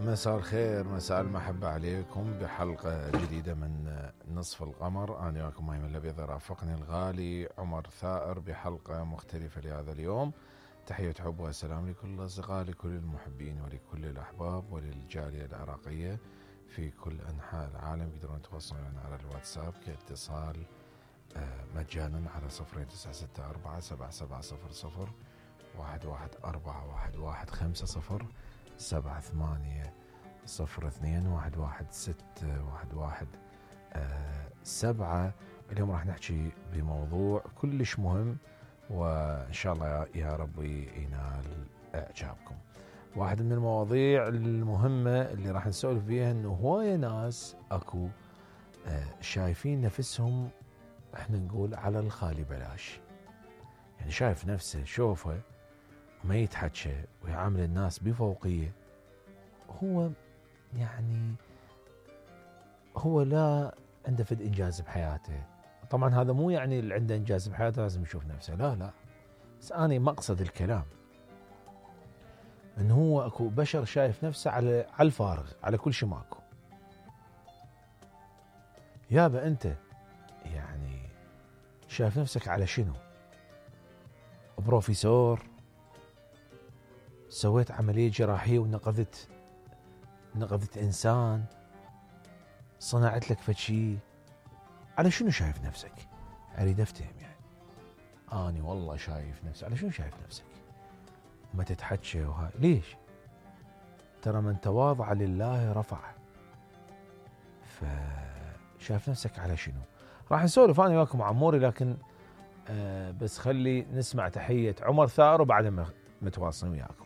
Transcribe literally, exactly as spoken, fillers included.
مساء الخير، مساء المحبة عليكم بحلقة جديدة من نصف القمر. أنا وياكم مايم الأبيض، رافقني الغالي عمر ثائر بحلقة مختلفة لهذا اليوم. تحية حب وسلام لكل الأصدقاء، لكل المحبين ولكل الأحباب وللجالية العراقية في كل أنحاء العالم. يقدرون يتواصلون على الواتساب كاتصال مجانا على صفر تسعة ستة أربعة سبعة سبعة صفر صفر واحد واحد أربعة واحد واحد خمسة صفر سبعة ثمانية صفر اثنين واحد واحد ستة واحد واحد آه سبعة. اليوم راح نحكي بموضوع كلش مهم، وإن شاء الله يا ربي ينال إعجابكم. واحد من المواضيع المهمة اللي راح نسولف فيها إنه هواية ناس أكو آه شايفين نفسهم، احنا نقول على الخالي بلاش، يعني شايف نفسه شوفه ما يتحكى ويعامل الناس بفوقية. هو يعني هو لا عنده فد إنجاز بحياته. طبعا هذا مو يعني اللي عنده إنجاز بحياته لازم يشوف نفسه، لا لا، بس أنا مقصد الكلام إنه هو أكو بشر شايف نفسه على على الفارغ، على كل شيء ماكو. يابا أنت يعني شايف نفسك على شنو؟ بروفيسور، سويت عملية جراحية ونقذت نقذت إنسان، صنعت لك فشي، على شنو شايف نفسك؟ أريد أفتهم يعني. أنا والله شايف نفسي، على شنو شايف نفسك؟ ما تتحكى وهاي ليش؟ ترى من تواضع لله رفعه. فشايف نفسك على شنو؟ راح نسولف أنا وياكم عموري، لكن آه بس خلي نسمع تحية عمر ثائر وبعدها متواصلين وياكم.